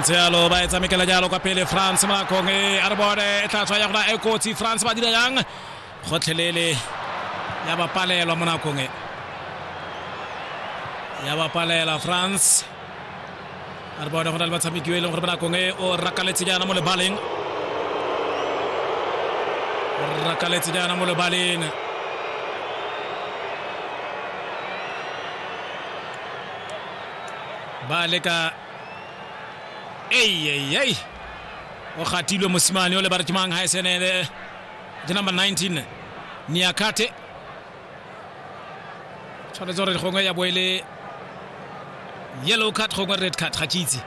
Ntse jalo ba e tshamekela jalo kwa pele France mo nakong e a re bone e tla tswa ya gona e kotsi. France ba dira jang gotlhelele ya ba palelwa mo nakong e, ya ba palela France. A re bone go na le batshameki yo e leng gore mo nakong e o rakaletse jaana mo lebaleng, o rakaletse jaana mo lebaleng. Ba leka ei ei ei, o gatilwe mosimane o le ba re ke mang ga e senele ke number 19 Niakate. Tshwanetse gore gongwe ya bo e le yellow card, gongwe red card, ga ke itse.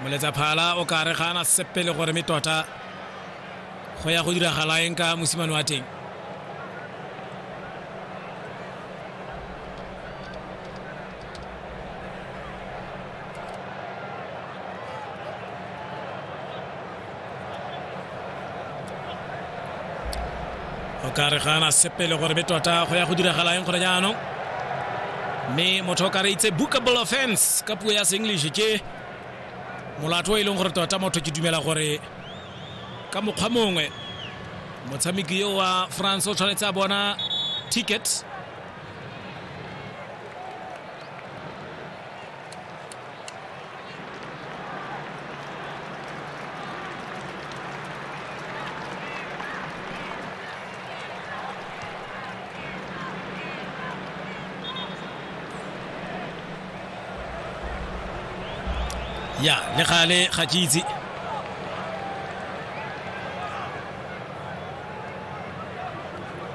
Moletsa phala o ka re ga ana sepele gore me tota go ya go diragala eng ka mosimane wa teng. O ka re ga ana sepele gore be tota go ya go diragala eng gore jaanong, mme motho o ka re itse bookable offense ka puo ya se-English, ke molato o e leng gore tota motho ke dumela gore ka mokgwa mongwe motshameki yo wa France o tshwanetse a bona ticket. Ya le gale ga ke itse.